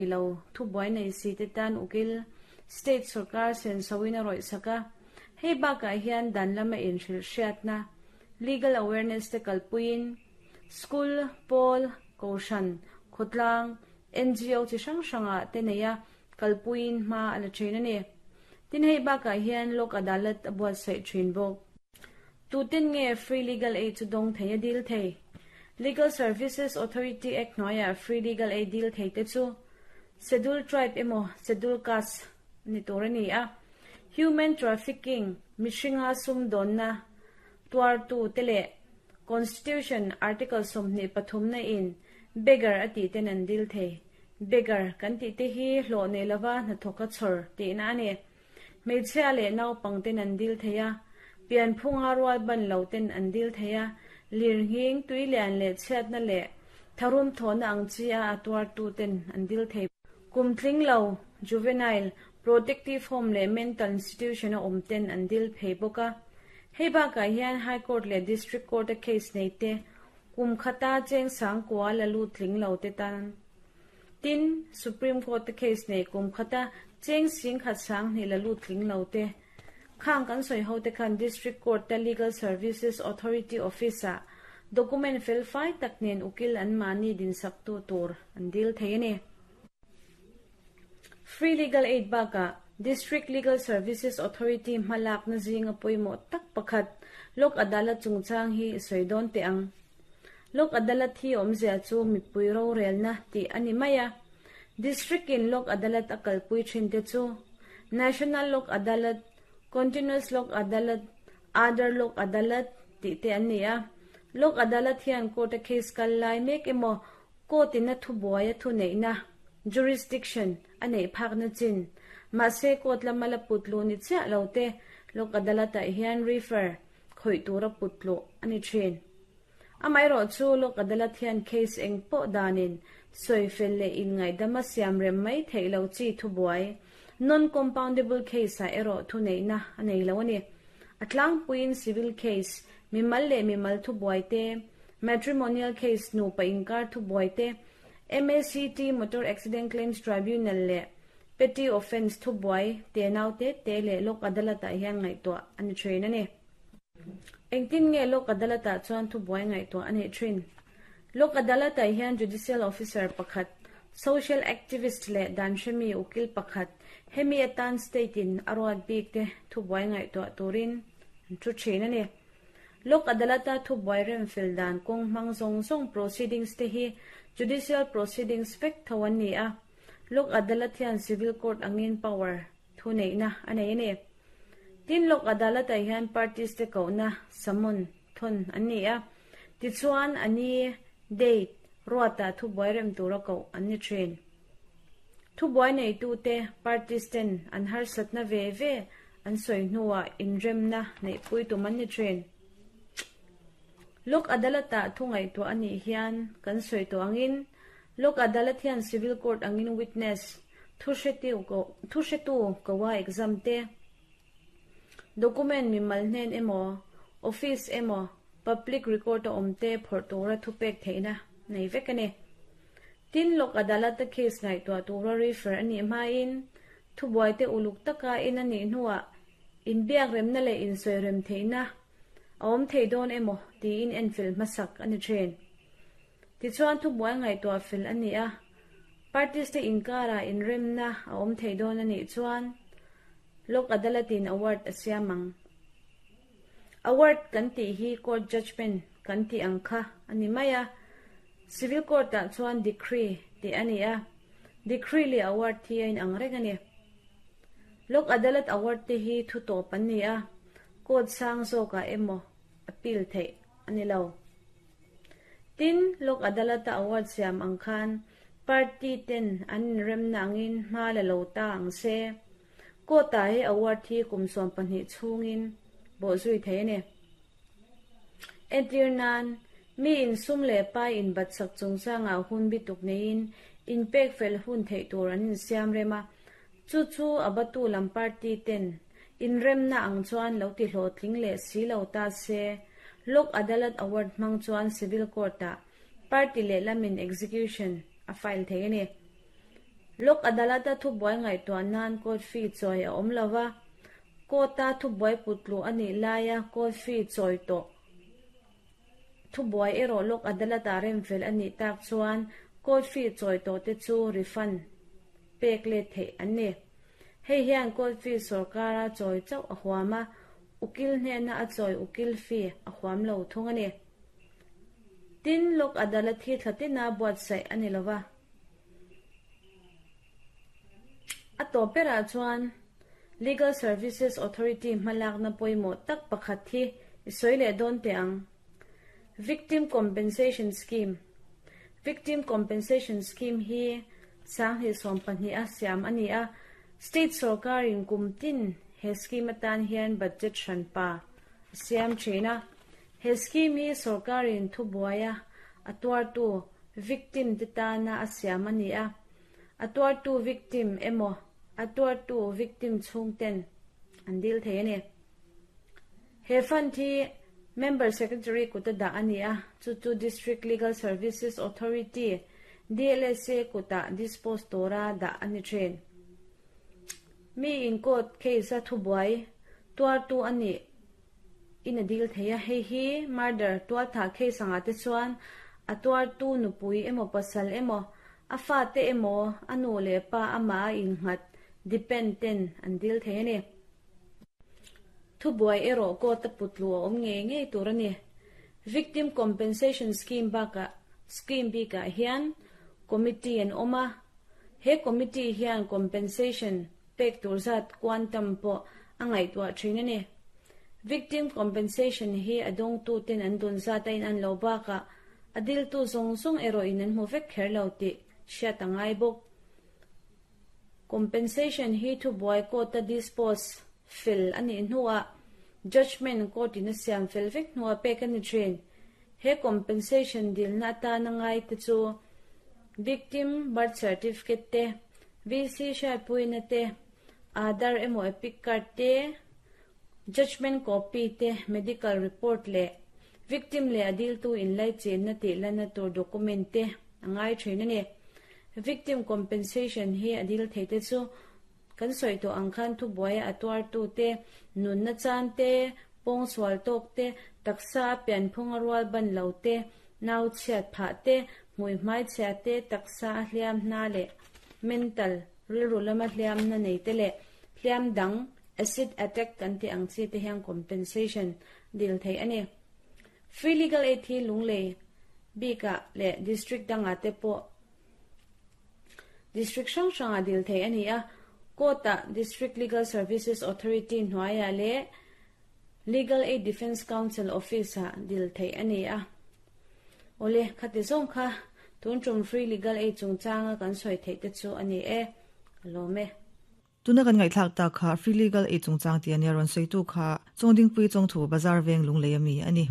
Lo thubuai nei si te tan ukil state sorkar sensoin a rawih sak a. Hei bakah hian dan lama inhrilh hriatna, legal awareness, te kalpuiin school, pawl, kohhran, khawtlang, NGO chi hrang hrangah te neia kalpuiin hma a la thin a ni. Tin hei bakah hian Lok Adalat a buatsaih thin bawk. Tuten nge free legal aid chu dawng thei a dil thei? Legal Services Authority Act hnuaiah free legal aid dil thei te chu Scheduled Tribe emaw Scheduled Caste ni tur a ni a. Human Trafficking, mihringa sumdawnna tuartu te leh Constitution Article 23 na in beggar a tih ten an dil thei. Beggar kan tih te hi hlawh nei lova hnathawka chhawr tihna a ni. Hmeichhia leh naupang ten an dil thei a, pianphunga rual ban lo ten an dil thei a, lirnghing, tuilian leh chhiatna leh tharum thawhna ang chi a a tuartu ten an dil thei. Kum tling lo, juvenile, protective home leh mental institution a awm ten an dil phei bawk a. Hei bakah hian High Court leh District Court a case nei te, kum khata cheng sangkua la lut tling lo te tan Tin, Supreme Court te case nei kum khata cheng sing khat sang hnih la lut tling lo te, khang kan sawi ho te khan District Court te Legal Services Authority Office ah document fel fai tak nen ukil an mahni dinsak tu tur an dil thei a ni. Free Legal Aid bakah District Legal Services Authority hmalakna zinga pawimawh tak pakhat Lok Adalat chungchang hi sawi dawn teh ang. Lok Adalat hi awmzia chu mipui rorelna tih a ni mai a. District in Lok Adalat a kalpui thin te chu National Lok Adalat, Continuous Lok Adalat, Aadhar Lok Adalat tih te an ni a. Lok Adalat hian court a case kal lai mek emaw court in a thubuai a thuneihna, jurisdiction, a neih phakna chin. Mahse court lama la put luh ni chiah lo te Lok Adalat ah hian refer khawih tura put tluh a ni thin. Amaherawh chu Lok Adalat hian case eng pawh danin sawi fel leh inngaihdama siam rem mai theih lo chi thubuai, non-compoundable case, ah erawh thuneihna a nei lo a ni. A tlangpuiin civil case, mimal leh mimal thubuai te, matrimonial case, nupa inkar thubuai te, MACT, Motor Accident Claims Tribunal, leh Petty offence thubuai tenau te te leh Lok Adalat-ah hian ngaihtuah a ni thin a ni. Engtin nge Lok Adalat-ah chuan thubuai ngaihtuah a nih thin? Lok Adalat-ah hian Judicial Officer pakhat, Social Activist leh dan hremi ukil pakhat hemi atan State-in a ruat bik te thubuai ngaihtuah turin an thu thin a ni. Lok Adalat-a thubuai remfel dan kawng hmang zawng zawng proceedings te hi Judicial Proceedings vek tho an ni a. Lok Adalat hian Civil Court angin power, thuneihna, a nei a ni. Tin, Lok Adalat-ah hian parties te kohna, summon, thawn an ni a. Tichuan, a ni, date, ruatah thubuai rem tura koh an ni thin. Thubuai neitute, parties ten an harsatna ve ve an sawi hnuah inremna neihpui tum an ni thin. Lok Adalat-ah thu ngaihtuah a nih hian kan sawi tawh angin Lok Adalat hian Civil Court angin witness, thuhretu koa exam te, document mimal hnen emaw, office emaw, public record a awm te phawrh tura thupek theihna nei vek a ni. Tin, Lok Adalat-a case ngaihtuah tura refer a nih hmain thubuaite uluk taka in a nih hnuah inbiakremna leh insawirem theihna a awm thei dawn emaw tiin enfel hmasak a ni thin. Tichuan thubuai ngaihtuah fel a ni a, parties te inkarah inremna a awm thei dawn a nih chuan Lok Adalat-in award a siam ang. Award kan tih hi court judgement kan tih ang kha a ni mai a, civil court-ah chuan decree tih a ni a, decree leh award hi a inang reng a ni. Lok Adalat award te hi thu tawp an ni a, court sang zawkah emaw appeal theih a ni lo. Tin, Lok Adalat-a award siam ang khan party ten an inremna angin hma la lo ta ang se. Court-ah he award hi kum 12 chhungin bawhzui thei a ni. Entir nan, mi insum leh pai inbatsak chungchangah hun bituk neiin inpek fel hun theih tur an insiam rem a, chu chu a batu lam party ten inremna ang chuan lo ti hlawhtling leh si lo ta se, Lok Adalat Award hmang chuan Civil Court-ah party leh lamin execution a file thei a ni. Lok Adalat-a thubuai ngaihtuah nan court fee chawi a awm lo va, court-a thubuai putluh a nih laia court fee chawi tawh thubuai erawh Lok Adalat-ah remfel a nih tak chuan court fee chawi tawh te chu refund pek let theih an ni. Hei hian court fee sawrkara chawi chauh a huam a, ukil hnena a chawi ukil fee a huam lo thung a ni. Tin, Lok Adalat hi thla tina buatsaih a ni lo va. A tawp berah chuan Legal Services Authority hmalakna pawimawh tak pakhat hi i sawi leh dawn teh ang. Victim Compensation Scheme Victim Compensation Scheme hi 2012 a siam a ni a, State sawrkarin kum tin he scheme atan hian budget hranpa a siam thin a. He scheme hi sawrkarin thubuaia a tuartu victim te tana a siam a ni a, a tuartu victim emaw a tuartu victim chhungten an dil thei a ni. He fund hi Member Secretary kuta dah a ni a, chu chu District Legal Services Authority, DLSA, kutah dispose tura dah a ni thin. Mi in court case a thubuai tuartu a nih in a dil thei a, hei hi murder tualthah case angah te chuan a tuartu nupui emaw pasal emaw a fate emaw a nu leh pa amah a innghat depend ten an dil thei a ni. Thubuai erawh court a putlu a awm ngei ngei tur a ni. Victim Compensation Scheme bakah scheme bikah hian committee an awm a, he committee hian compensation pek tur zat quantum pawh a ngaihtuah thin a ni. Victim compensation hi a dawngtuten an dun zat a inan lo bakah a diltu zawng zawng erawh in an hmu vek kher lo tih hriat a ngai bawk. Compensation hi thubuai court-a dispose fel a nih hnuah judgement court in a siam fel vek hnuah pek a ni thin. He compensation dilna atana ngaite chu victim birth certificate te, VC hriatpuina te, Aadhaar emaw Epic card te, judgement copy te, medical report leh victim leh a diltu inlaichenna tih lanna tur document te a ngai thin a ni. Victim compensation hi a dil theite chu kan sawi tawh ang khan thubuaia a tuartu te, nunna chan te, pawngsual tawk te, taksa a pianphung a rual ban lo te, nau chhiat phah te, hmui hmai chhia te, taksa a hliam hna leh mental rilru lama hliamna nei te leh hliam dang acid attack kan tih ang chi te hian compensation dil theih a ni. Free legal aid hi Lunglei bikah leh district dangah te pawh District hrang hrangah dil theih a ni a, Court-ah District Legal Services Authority hnuaiah leh Legal Aid Defence Council Office-ah dil theih a ni a. Awle, khati zawng kha tun tum Free Legal Aid chungchanga kan sawi theih te chu a ni e. Ka lawm e. Tuna kan ngaihthlak tak kha Free Legal Aid chungchang tih a nia rawn sawitu kha Chawngdingpui Chawngthu Bazar Veng Lunglei a mi a ni.